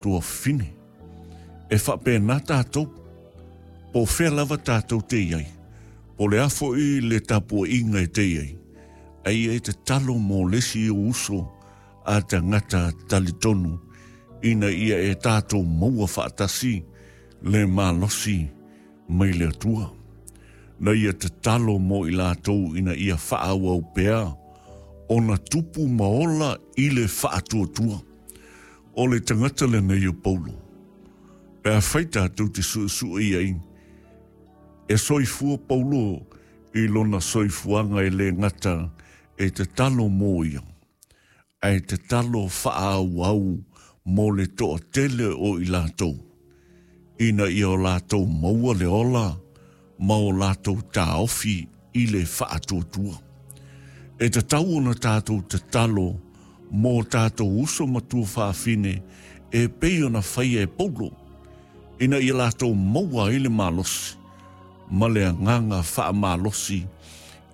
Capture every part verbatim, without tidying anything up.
Tuafafine. E faapena tatou, po o fea lava tatou te i ai, po o le a foi le tapuaiga e te i ai, a ia e tatalo mo le isi ou uso a tagata talitonu ina ia e tatou maua faatasi le malosi mai le Atua. Na ia tatalo mo i latou ina ia faaauau pea ona tupu ma ola i le faatuatua. O le tagata lenei o Paulo, pe afai tatou te suesue i ai, e soifua Paulo i lona soifuaga e le gata e tatalo mo ia, ae tatalo faaauau mo le toatele o i latou, ina ia o latou maua le ola ma o latou taofi i le faatuatua. E tatau ona tatou tatalo mo tatou uso ma tuafafine e pei ona faia e Paulo, ina ia latou maua ai le malosi ma le agaga faamalosi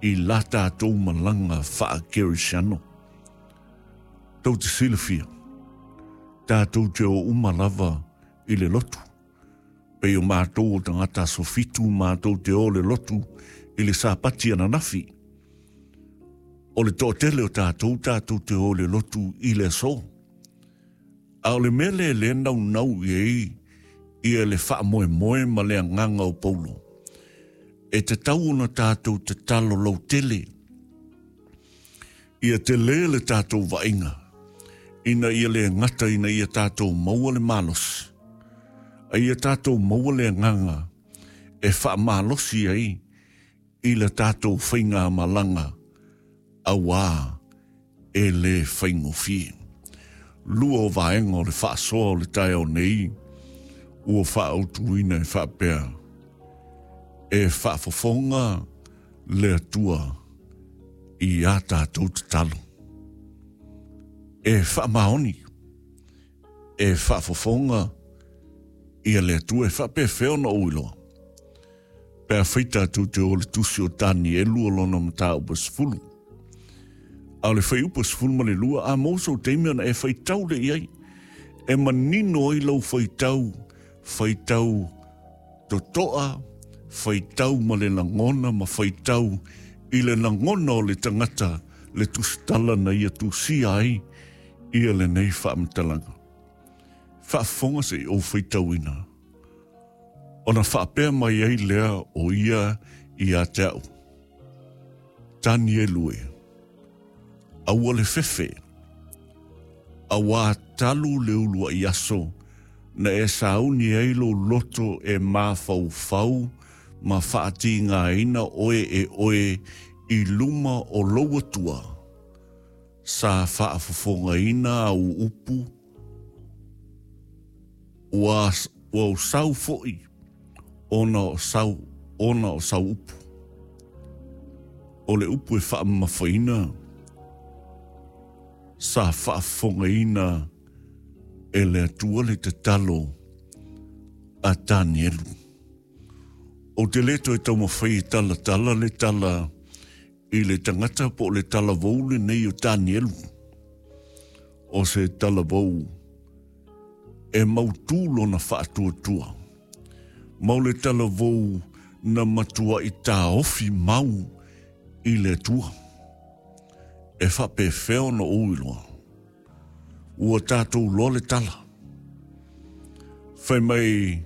i la tatou malaga faakerisiano. Tou te silafia, tatou te o uma lava i le lotu. Pei o matou o tagata aso fitu matou te o le lotu i le Sapati ananafi. O le toatele o tatou tatou te o le lotu i le aso. A o le mea lea lea naunau i ai ia le faamoemoe ma le agaga o Paulo, e tatau ona tatou tatalo lautele ia tele le tatou vaaiga ina ia le gata ina ia tatou maua le malosi, a ia tatou maua le agaga e faamalosi ai i le tatou faigamalaga auā e le faigofie. Lua o vaega o le faasoa o le taeao nei ua faaautuina e faapea, e faafofoga le Atua i a tatou tatalo. E faamaoni, e faafofoga ia le Atua e faapefea ona ou iloa. Pe afai tatou te o le tusi o Tanielu o lona mataupu sefulu. A o le fuaiupu sefulu ma le lua, a maua sou taimi ona e faitau le i ai. E manino ai lau faitau, faitau totoa, faitau ma le lagona ma faitau i le lagona o le tagata le tusitala na ia tusia ai ia lenei faamatalaga. Faafofoga se i ou faitauina. Ona faapea mai ai lea o ia ia te au. Tanielu e, aua le fefe, auā talu le uluai aso na e sauni ai lou loto e mafaufau ma faatigaina oe e oe i luma o lou Atua, sa faafofogaina au upu, ua, ua ou sau foi ona o sau, ona o sau upu. O le upu e faamamafaina, sa faafofogaina e le Atua le tatalo a Tanielu. Ou te le toe taumafai e talatala le tala i le tagata po o le talavou lenei o Tanielu. O se talavou e mautū lona faatuatua. Ma o le talavou na matuai taofi mau i le Atua. E faapefea ona ou iloa. Ua tatou loa le tala. Fai mai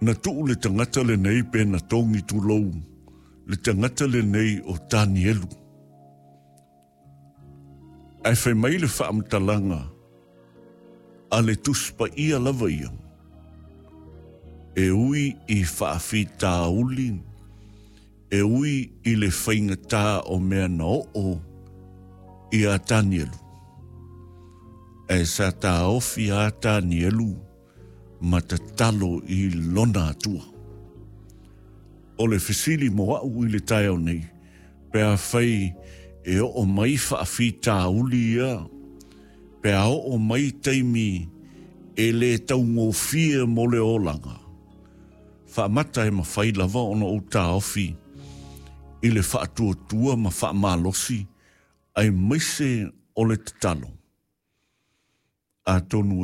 na tuu le tagata lenei pe na togi tulou le tagata lenei o Tanielu. Ae fai mai le faamatalaga a le Tusi Paia lava ia, e ui i faafitauli, e ui i le faigatā o mea na oo ia Tanielu. Ae sa taofi a Tanielu ma tatalo i lona Atua. O le fesili mo au i le taeao nei, pe afai e oo mai faafitauli ia, pe a oo mai taimi e le taugofie mo le olaga, faamata e mafai lava ona ou taofi i le faatuatua ma faamalosi aemaise o le tatalo. Atonu